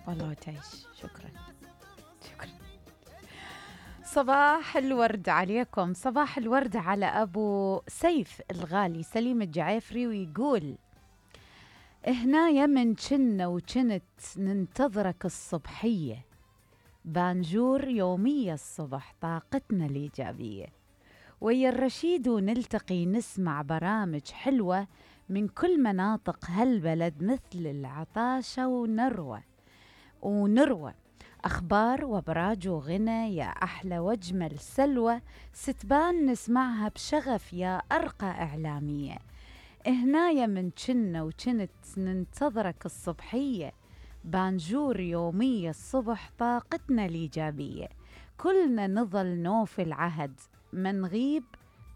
والله تعيش. شكرا. شكرا. صباح الورد عليكم، صباح الورد على أبو سيف الغالي سليم الجعيفري، ويقول: هنا من كنا وكنت ننتظرك الصبحية، بانجور يومية الصبح طاقتنا الإيجابية، ويا الرشيد ونلتقي نسمع برامج حلوة من كل مناطق هالبلد، مثل العطاشة ونروى أخبار وأبراج وغنى، يا أحلى وأجمل سلوى ستبان نسمعها بشغف، يا أرقى إعلامية. هنايا من كنا وكنت ننتظرك الصبحية، بانجور يومية الصبح طاقتنا الإيجابية، كلنا نظل نوفي العهد، ما نغيب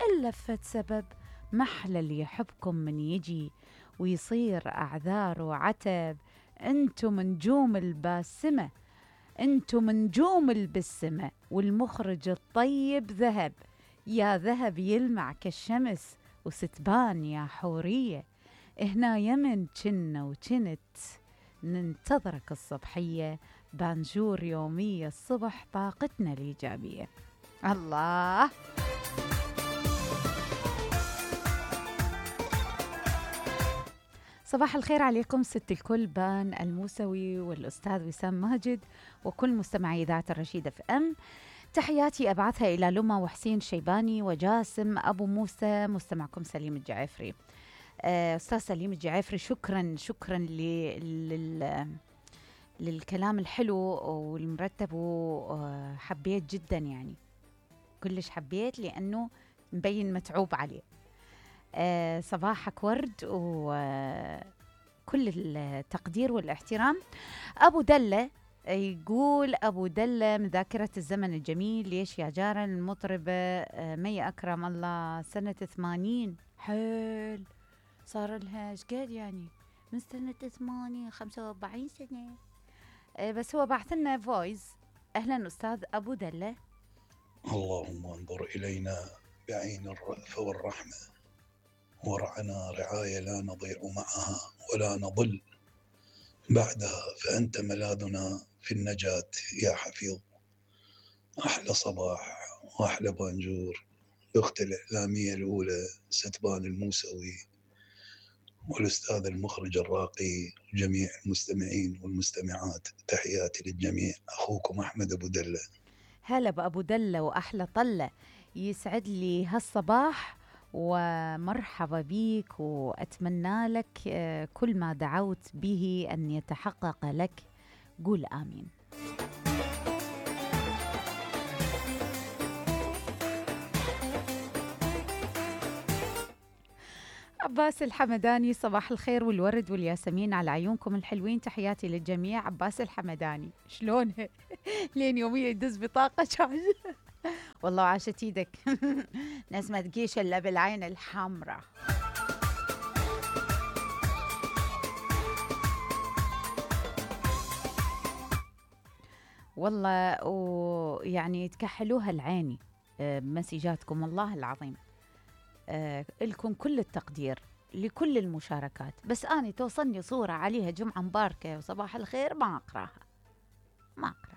إلا فت سبب، محلى اللي يحبكم من يجي ويصير أعذار وعتب. انتم نجوم الباسمة، انتم نجوم البسمة، والمخرج الطيب ذهب، يا ذهب يلمع كالشمس وستبان يا حورية. هنا يمن كنا وكنت ننتظرك الصبحية، بانجور يومية الصبح طاقتنا الإيجابية. الله. صباح الخير عليكم ست الكل، بان الموسوي والأستاذ وسام ماجد وكل مستمعي إذاعة الرشيد اف ام. تحياتي أبعثها إلى لما وحسين شيباني وجاسم أبو موسى، مستمعكم سليم الجعيفري. أستاذ سليم الجعيفري، شكرا للكلام الحلو والمرتب، وحبيت جدا يعني، كلش حبيت لأنه مبين متعوب عليه. صباحك ورد وكل التقدير والاحترام. أبو دلة يقول: أبو دلة من ذاكرة الزمن الجميل، ليش يا جارة المطربة مي أكرم الله سنة 80 حيل، صار لها ايش قد يعني من سنة 80 45 سنة. بس هو بعث لنا فويس. أهلا أستاذ أبو دلة. اللهم انظر إلينا بعين الرأفة والرحمة، ورعنا رعاية لا نضيع معها ولا نضل بعدها، فأنت ملاذنا في النجاة يا حفيظ. أحلى صباح وأحلى بانجور الأخت الإعلامية الأولى ستبان الموسوي، والأستاذ المخرج الراقي، وجميع المستمعين والمستمعات. تحياتي للجميع، أخوكم أحمد أبو دلة. هلا بأبو دلة وأحلى طلة، يسعد لي هالصباح ومرحبا بيك، وأتمنى لك كل ما دعوت به أن يتحقق لك، قول آمين. عباس الحمداني: صباح الخير والورد والياسمين على عيونكم الحلوين، تحياتي للجميع. عباس الحمداني شلونها؟ لين يوميا يدز بطاقة شاش. والله عاشت ايدك. ناس ما تقيش الا بالعين الحمراء. والله ويعني تكحلوها العيني بمسيجاتكم، والله العظيم. لكم كل التقدير لكل المشاركات، بس أنا توصلني صورة عليها جمعة مباركة وصباح الخير ما أقراها، ما أقرأ.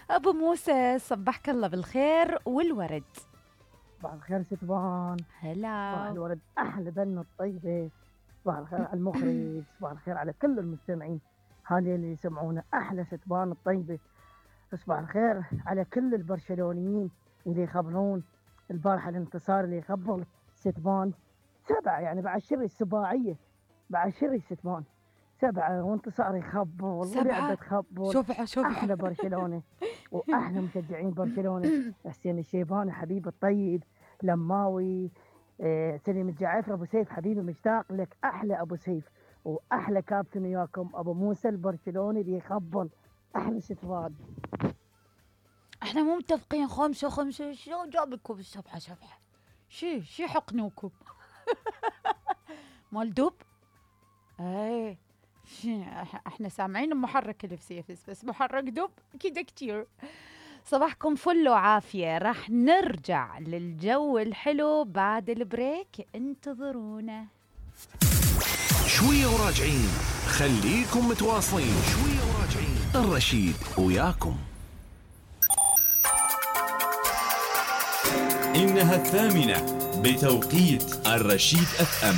أبو موسى صبحك الله بالخير والورد. صباح الخير ستبان. هلا. صباح الورد، أحلى بنة الطيبة. صباح الخير على المخرج، صباح الخير على كل المستمعين هذه اللي يسمعونا، أحلى ستبان الطيبة. صباح الخير على كل البرشلونيين اللي يخبرون البارحة الانتصار اللي يخبر ستبان 7، يعني بعد شري السباعية، بعد شري ستبان 7 وانتصار يخبر ولعبة تخبر. شوف أحلى برشلونة وأحلى مشجعين برشلونة. حسين الشيباني حبيب الطيب، لماوي، سليم الجعيفري، أبو سيف حبيبي مشتاق لك، أحلى أبو سيف، وأحلى كابتن وياكم أبو موسى البرشلوني اللي يخبر. أحلى ستفاد. احنا مو متفقين 5 شو جابكم السبحة سبحة؟ شي حقنوكم. مال دب؟ ايه احنا سامعين محرك الفسيفس، بس محرك دب كده كتير. صباحكم فل وعافية. راح نرجع للجو الحلو بعد البريك، انتظرونا. شوية وراجعين، خليكم متواصلين. شوية وراجعين، الرشيد وياكم. إنها 8 بتوقيت الرشيد FM.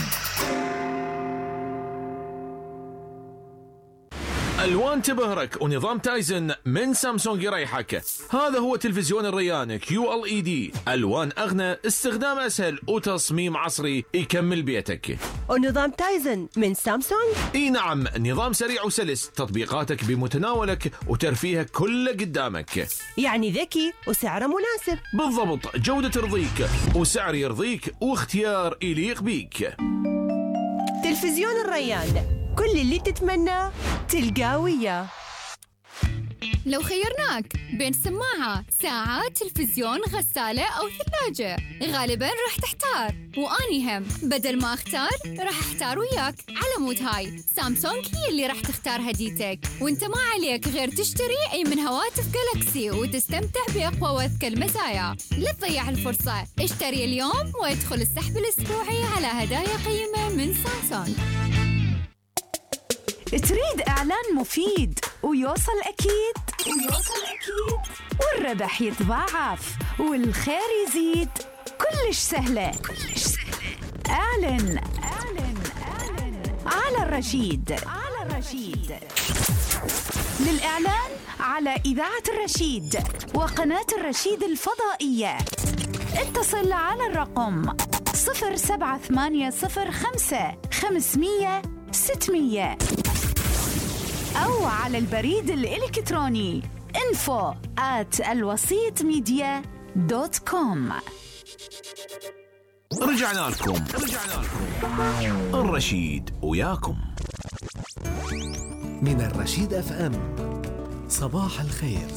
ألوان تبهرك ونظام تايزن من سامسونج يريحك. هذا هو تلفزيون الريان QLED، ألوان أغنى، استخدام أسهل وتصميم عصري يكمل بيتك. ونظام تايزن من سامسونج؟ اي نعم، نظام سريع وسلس، تطبيقاتك بمتناولك وترفيهك كله قدامك. يعني ذكي وسعره مناسب. بالضبط، جودة ترضيك وسعر يرضيك واختيار يليق بيك. تلفزيون الريان، كل اللي تتمناه تلقاه وياه. لو خيرناك بين سماعة، ساعة، تلفزيون، غسالة أو ثلاجة، غالباً راح تحتار. وأني هم بدل ما أختار راح أحتار وياك. على مود هاي سامسونج هي اللي راح تختار هديتك، وانت ما عليك غير تشتري أي من هواتف جالكسي وتستمتع بأقوى وأذكى المزايا. لا تضيع الفرصة، اشتري اليوم وادخل السحب الأسبوعي على هدايا قيمة من سامسونج. تريد إعلان مفيد ويوصل أكيد والربح يتضاعف والخير يزيد، كلش سهلة. اعلن على الرشيد. للإعلان على إذاعة الرشيد وقناة الرشيد الفضائية اتصل على الرقم 07805 500 600 أو على البريد الإلكتروني info@alwasitmedia.com. رجعنا لكم. الرشيد وياكم. من الرشيد FM. صباح الخير.